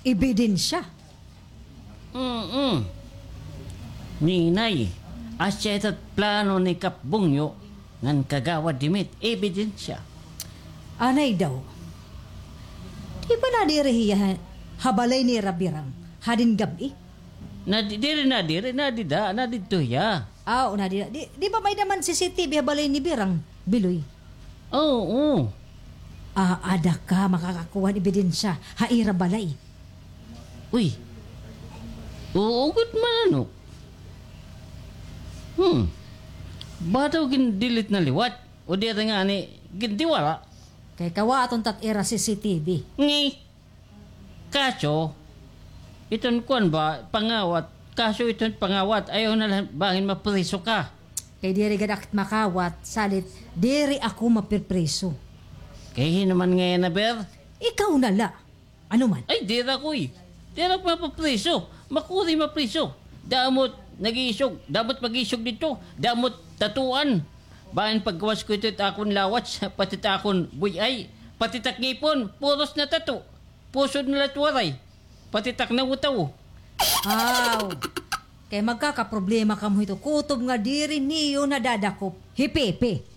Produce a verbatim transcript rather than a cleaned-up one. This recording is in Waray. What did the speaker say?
Ebidensya. Mm-mm. Ninay, asya ito't plano ni Kap Bungyo ngan Kagawad Dimit, ebidensya. Anay daw. Di ba nadiri hiya ha, ha balay nira Birang hadin gab-i? Nadi-, diri, nadiri, nadida, nadidto hiya. Ah, oo, nadida. Di, di ba may-ada man C C T V ha balay ni Birang, Biloy? Oo. Ah, ada ka makakakuha hin ebidensya ha ira balay. Uy. Oo gud man, ano? Hmm. Ba daw gin-delete na liwat? O di ata ngani gindiwara? Kay kawaton ta it ira C C T V. Ngi. Kaso, iton kuan ba, pangawat. Kaso iton pangawat, ayaw na la bangin mapriso ka. Kay diri gad ak it makawat, salit diri ako mapripriso. Kay hin-o man ngay-an na, ber? Ikaw na la. Ano man? Ay, diri ako, eh. Diri ako mapapriso. Makuri mapriso. Damo it nag-iisog, damo it mag-iisog didto, damo it tatuan. Bangin paggawas ko ito it akon lawats, pati it akon buy-ay, pati it ak ngipon, puros na tato. Pusod na la it waray. Pati it ak nawutaw. Aw. Kay magkakaproblema kamo hito. Kutob nga diri niyo nadadakop hi Pepe.